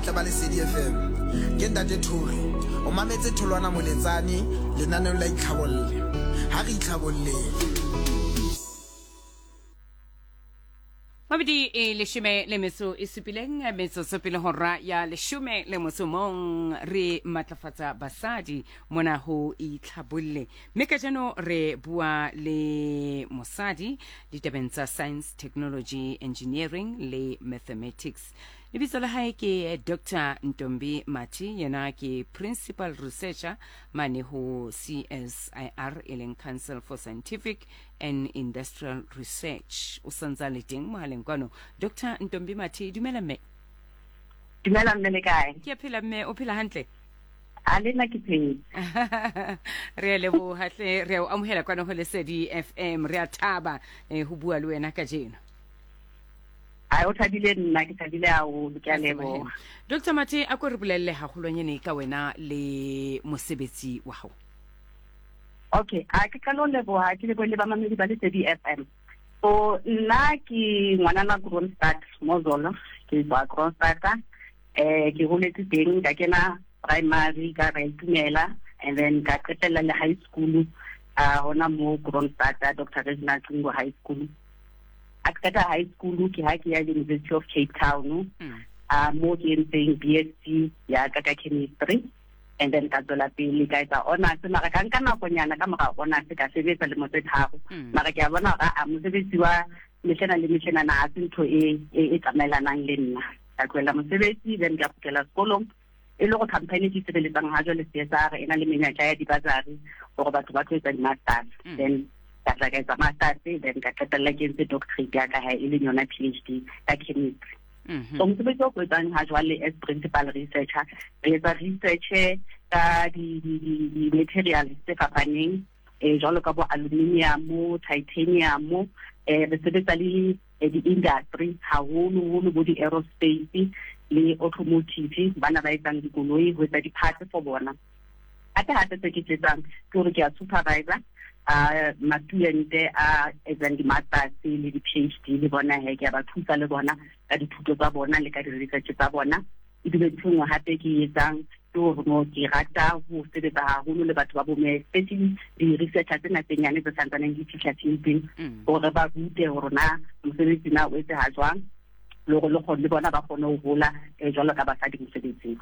botle ba Lesedi FM. Ke Ntate Thori. O mametse Tholwana Moletsane lenaneong la Itlhabolle. Ha re itlhabolleng. Mabedi e leshome le metso e supileng metsotso pele hora ya leshome le motso mong re matlafatsa basadi mona ho itlhabolle mme kajeno re bua le mosadi ditabeng tsa science technology engineering le mathematics lebitso la hae ke Dr Ntombi Mathe yena ke principal researcher mane ho CSIR e leng Council for Scientific and Industrial Research. O santsa le teng mohaleng kwano. Dr Ntombi Mathe, dumela mme. Dumela mme le kae? Ke a phela mme, o phela hantle? A le nna ke phetse. Re a leboha hle, re a o amohela kwano ho Lesedi FM. Re a thaba eh, ho bua le wena kajeno. A o thabile nna ke thabile haholo, ke a leboha. Dr Mathe, a ko re bolelle haholwanyane ka wena le mosebetsi wa hao. Okay, a ke qala ho leboha ke lebohe le bamamedi ba Lesedi FM. So nna ke ngwanana Kroonstad Mozolo, ke tswa Kroonstad. Eh ke holetse teng ka kena primary ka ra itumela and then ka qetella le high school a hona mo Kroonstad Dr. Reginald Cingo High School. A qeta high school ke ha ke ya University of Cape Town. A mo ke entseng BSc ya ka ka chemistry. And then ka tswela pele ka etsa honors mara ka nka nakonyana ka mora honors ka sebetsa lemo tse tharo. Mara ke a bona hore a mosebetsi wa mehlena le mehlenana ha se ntho e e, e tsamaelanang le nna. Ka tlohela mosebetsi then ka kgutlela sekolong e le gore company ke sebeletsang ha jwale CSR e na le menyetla ya di-bursary gore batho ba tlo etsa di-masters. Then ka tla ka etsa masters then ka qetella ke entse doctorate ya ka ha e leng yona PhD ka chemistry. So mosebetsi o ko etsang ha jwale as principal researcher, re etsa research ka di-materials tse fapaneng eh jwalo ka bo aluminium, titanium, eh re sebetsa le di-industry haholo-holo bo di-aerospace le automotive bana ba etsang dikoloi ho etsa di-parts for bona. Hape hape se ke se etsang ke hore ke a supervisor a ma-student a etsang di-masters le di-PhD le bona he ke a ba thusa le bona ka dithuto tsa bona le ka di-research tsa bona. Ebile ntho e nngwe hape ke e etsang ke hore no ke rata ho sebetsa haholo le batho ba bomme, especially di-researcher tsena tse nyane tse santsaneng di fihla fielding, hore ba rute hore na mosebetsi na o etseha jwang le hore le kgone le bona ba kgone ho hola jwalo ka basadi mosebetsing.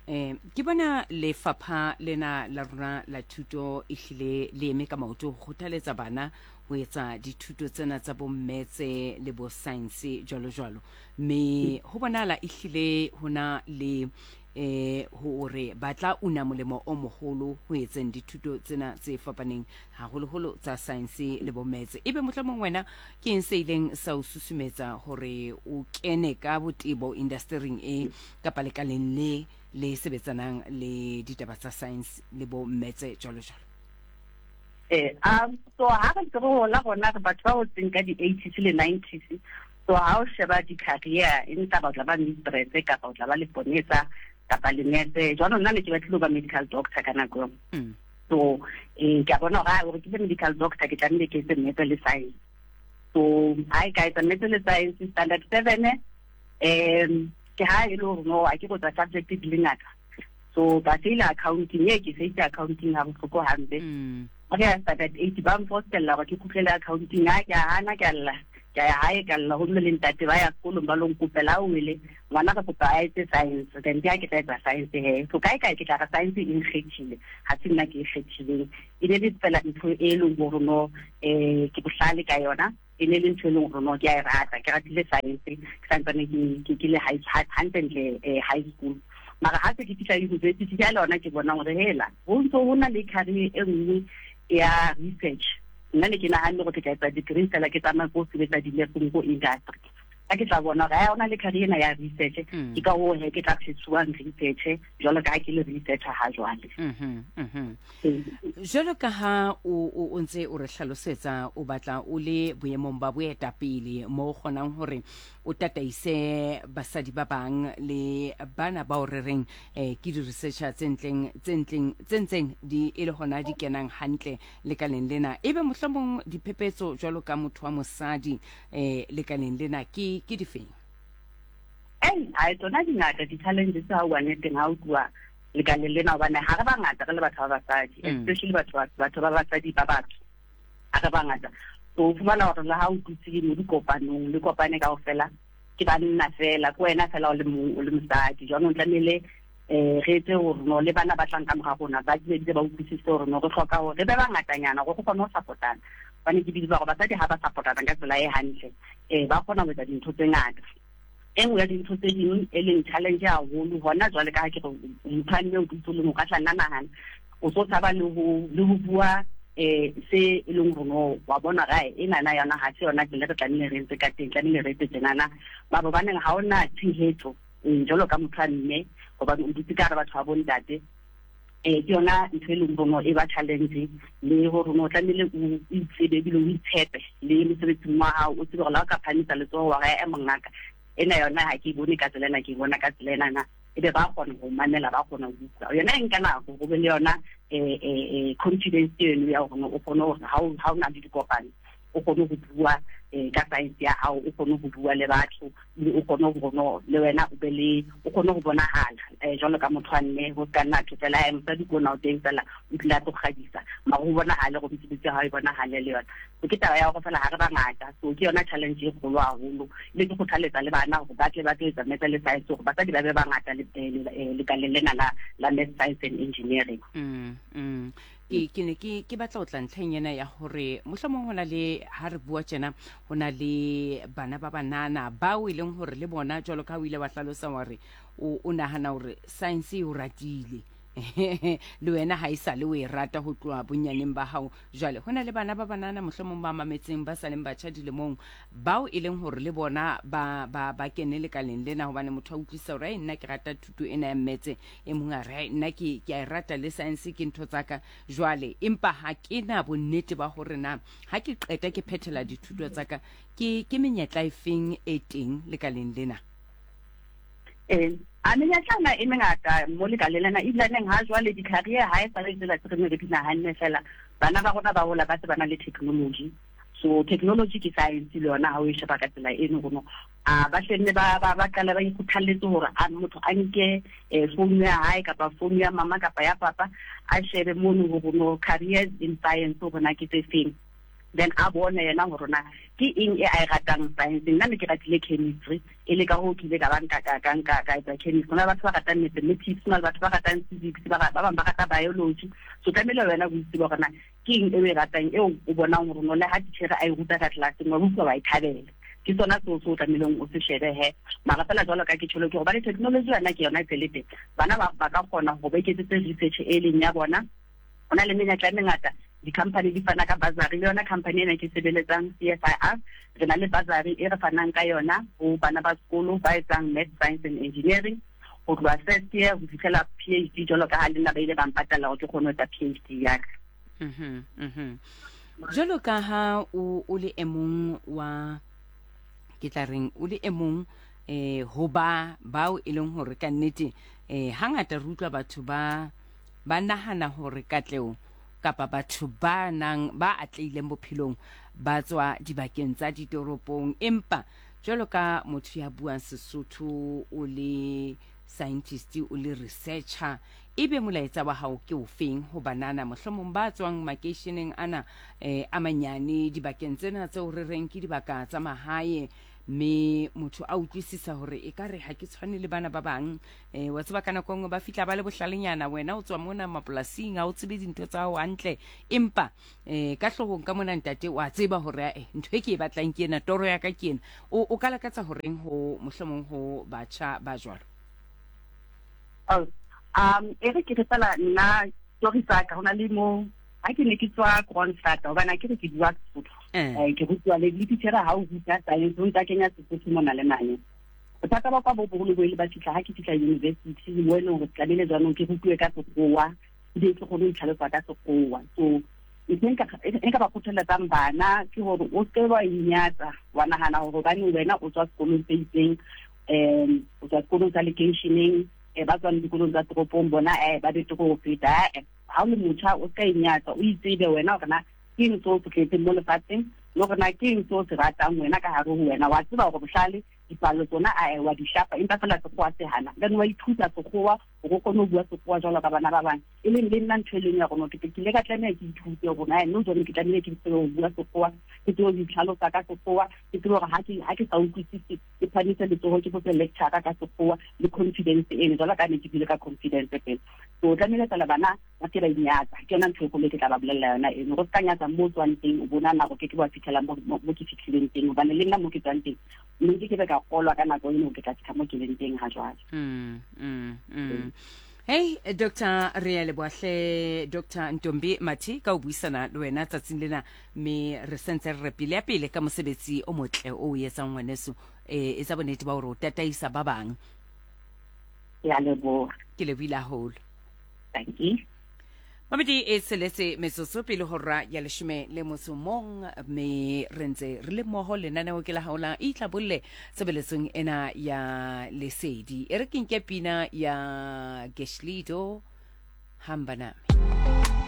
Ke bona lefapha lena la rona la thuto e hlile le eme ka maoto ho kgothaletsa bana ho etsa dithuto tsena tsa bo mmetse le bo science jwalo jwalo, mme ho bonahala e hlile hona le hore ba tla una molemo o moholo ho etseng dithuto tsena tse fapaneng haholoholo tsa science le bo metse. Ebe mohlomong wena ke eng se ileng sa o susumetsa hore o kene ka botebo indastering e kapa lekaleng le le sebetsanang le ditaba tsa science le bo mmetse jwalo jwalo? So ha re ntse re hola rona re batho ba hotseng ka di-eighties le nineties, so ha o sheba di-career e ntla ba o tla ba mistress kapa o tla ba leponesa kapa lenese. Jwanong nna ne ke batlile ho ba medical doctor ka nako eo. So ke a bona hore hore ke be medical doctor ke tlamehile ke etse maths le science. So ha e ka etsa maths le science standard 7, ke ha e le hore no a ke go tsa subject di le ngata. So ka faila accounting, e ke faitse accounting ha bohloko hampe. Ha ke ya standard 8 ba mfostella hore ke kgutlele accounting, ha ke a hana ke a lla. Ke a ya hae ka lla ho mme le ntate ba ya sekolong ba lo nkopela o wele ngwana re kopa a etse science, then ke ha ke tla etsa science he. So kae kae ke tla re science e nkgethile, ha se nna ke e kgethileng. E ne le fela ntho e leng hore no ke bohlale ka yona, e ne le ntho e leng hore no ke a e rata, ke ratile science ke santsane ke le high hantlentle high school. Mara ha se ke fihla university ke le yona ke bona hore hela ho ntso ho na le career e nngwe ya research. Nna ne ke nahanne hore ke tla etsa degree fela ke tsamaye ko sebetsa di-lab-ong ko industry. Ha ke tla bona hore ha hona le career ena ya research, ke ka hoo he ke tla phesuwang research jwalo ka ha ke le researcher ha jwale. Jwalo ka ha o ntse o re hlalosetsa, o batla o le boemong ba boetapele mo o kgonang hore o tataise basadi ba bang le bana bao re reng ke di-researcher tse ntleng, tse ntleng, tse ntseng di e le hona di kenang hantle lekaleng lena. Ebe mohlomong diphephetso jwalo ka motho wa mosadi lekaleng lena ke difeng? Ei, hai tsona di ngata di-challenges ha o bua nneteng ha o tluwa lekaleng lena hobane ha re bangata re le batho ba basadi, especially batho ba basadi ba batsho, ha re bangata. So o fumana hore le ha o dutse mo dikopanong le kopane kaofela ke banna fela, ke wena fela o le mong o le mosadi. Jwanong tlamehile re etse hore no le bana ba tlang ka mora rona ba dule ba utlwisise hore no re hloka hore re be bangatanyana hore re kgone ho support-ana. Hobane ke believe hore basadi ha ba support-ana ka tsela e hantle, ba kgona ho etsa dintho tse ngata. E nngwe ya dintho tse ding e leng challenge haholo hona jwale ka ha ke re motho a mme o dutse o le mong, o ka tla nna nahana o so tshaba le ho le ho bua se e leng hore no wa bona gae enana yona ha se yona tsela re tlamehile re etse ka teng, tlamehile re etse tjenana. Mara hobaneng ha ona tshehetso jwalo ka motho a mme, hobane o dutse ka hara batho ba bontate, ke yona ntho e leng hore e ba challenge le hore no tlamehile o itsebe ebile o itshepe le mosebetsing wa hao, o tsebe hore la o ka phahamisa letsoho wa re e mongaka ena yona ha ke e bone ka tsela ena, ke e bona ka tsela ena na, ebe ba kgona ho mamela, ba kgona ho utlwa. Yona e nka nako go be le yona confidence eno ya hore o kgone hore ha o na le dikopano o kgone ho bua ka science ya hao, o kgone ho bua le batho, ebile o kgone ho no le wena o be le o kgone ho bonahala jwalo ka motho wa mme, ho ska nna thwe fela mosadi ke ona o teng fela o tlile a tlo kgabisa, mara ho bonahale gore mesebetsi ya hao e bonahale le yona. So ke taba ya hore fela ha re bangata, so ke yona challenge e kgolo haholo. Ebile ke kgothaletsa le bana hore ba tle ba tlo etsa maths le science hore basadi ba be bangata lekaleng lena la maths, science and engineering. Ke ne ke batla ho tla ntlheng ena ya hore mohlomong ho na le ha re bua tjena ho na le bana ba banana bao e leng hore le bona jwalo ka ha o ile wa hlalosa wa re o nahana hore science e o ratile le wena ha e sa le o e rata ho tloha bonyaneng ba hao. Jwale ho na le bana ba banana mohlomong ba mametseng ba sa leng batjha dilemong bao e leng hore le bona ba kene lekaleng lena, hobane motho a utlwisisa hore ai nna ke rata thuto ena ya mmetse, e mong a re nna ke a e rata le science ke ntho tsa ka jwale, empa ha ke na bonnete ba hore na ha ke qeta ke phethela dithuto tsa ka ke menyetla e feng e teng lekaleng lena. A menyetla ena e mengata mo lekaleng lena, ebilaneng ha jwale di-career ha e sa le tsela tse re ne re di nahanne fela, bana ba rona ba hola ba se ba na le technology. So technology ke science le yona ha o e sheba ka tsela eno gono a ba hlenne ba qala ba ikgothalletse hore a motho a nke phone ya hae kapa phone ya mama kapa ya papa a shebe mono hore no careers in science hore na ke tse feng, then a bone yena hore na ke eng e a e ratang science. Nna ne ke ratile chemistry, e le ka hoo ke ile ka ba nka ka ka nka ka etsa chemistry. Ho na le batho ba ratang mathematics, ho na le batho ba ratang physics, ba bang ba rata biology. So tlamehile wena o itse hore na ke eng e o e ratang, eo o bonang hore no le ha titjhere a e ruta ka tlelaseng wa utlwa wa e thabela. Ke sona seo se o tlamehileng o se shebe he. Mara fela jwalo ka ke tjholo ke hobane technology yona ke yona e tsele teng. Bana ba ka kgona hore ba iketsetse research e leng ya bona. Ho na le menyetla e mengata, di-company di fana ka bursary, le yona company ena ke sebeletsang CSIR, re na le bursary e re fanang ka yona ho bana ba sekolo ba etsang math, science and engineering ho tloha first year ho fihlela PhD, jwalo ka ha le nna ba ile ba mpatalla hore ke kgone ho etsa PhD ya ka. Jwalo ka ha o le e mong wa, ke tla reng, o le e mong ho ba bao e leng hore ka nnete hangata re utlwa batho ba nahana hore katleho kapa batho ba nang ba atlehileng bophelong ba tswa dibakeng tsa ditoropong, empa jwalo ka motho ya buang Sesotho, o le scientist, o le researcher, ebe molaetsa wa hao ke ofeng ho banana mohlomong ba tswang makeisheneng ana a manyane, dibakeng tsena tseo re reng ke dibaka tsa mahae, mme motho a utlwisisa hore e ka re ha ke tshwane le bana ba bang, wa tseba ka nako nngwe ba fihla ba le bohlalenyana, wena o tswa mona mapolasing ha o tsebe dintho tsa hao hantle, empa ka hloohong ka mona ntate wa tseba hore ntho e ke e batlang ke ena, toro ya ka ke ena, o ka lakatsa horeng ho mohlomong ho batjha ba jwalo? E re ke re fela nna story sa ka, ho na le mo ha ke ne ke tswa Kroonstad, hobane ha ke re ke bua Sesotho, ke rutiwa le titjhere ha o ruta science, o ntsa kenya Sesotho mona le mane. Bothata ba kwa bo boholo bo ile ba fihla ha ke fihla university, mo e leng hore tlamehile jwanong ke rutiwe ka Sekgowa, ebile ke kgone ho itlhalosa ka Sekgowa. So ntho e nka ba kgothaletsang bana ke hore o seke wa inyatsa, wa nahana hore hobane wena o tswa sekolong se itseng, o tswa sekolong sa lekeisheneng, ba tswang dikolong tsa toropong bona ba betere ho feta. Ha o le motjha o ska inyatsa, o itsebe wena hore na ke eng seo se tletseng mo lefatsheng, le hore na ke eng seo se ratang wena ka hare ho wena. Wa tseba hore bohlale Dipalo tsona ae wa di shapa empa feela sekgowa se hana. Then wa ithuta sekgowa hore o kgone ho bua sekgowa jwalo ka bana ba bang. E leng le nna ntho e leng ya rona ke ile ka tlameha ke ithute hore na nou jwale ke tlamehile ke tsebe ho bua sekgowa, ke tsebe ho itlhalosa ka sekgowa, ke tsebe hore ha ke ha ke sa utlwisise ke phamise letsoho ke botse lecturer ka sekgowa le confidence eno jwalo ka ne ke bile ka confidence pele. So tlamehile fela bana ba se ba inyatsa. Ke yona ntho e kgolo e ke tla ba bolella yona eno. Go se ka nyatsa mo o tswang teng, o bona nako ke ke wa fitlhela mo mo ke fitlhileng teng hobane le nna mo ke tswang teng mme ke ke be ka kolwa ka nako eno ke tla fitlha mo ke leng teng ha jwale. Mm, mm, mm. Hey Dr. re ya leboha hle Dr. Ntombi Mathi ka ho buisana le wena tsatsing lena mme re sentse re re pele ya pele ka mosebetsi o motle o o etsang ngwaneso eh etsa bonnete ba hore o tataisa ba bang. Ke a leboha. Ke lebohile haholo. Thank you. Mamedi e tsheletse metsotso pele hora ya leshome le motso mong mme re ntse re le mmoho lenaneo ke la hao la itlhabolle tshebeletsong ena ya lesedi e re ke nke pina ya Geshlido hamba nami.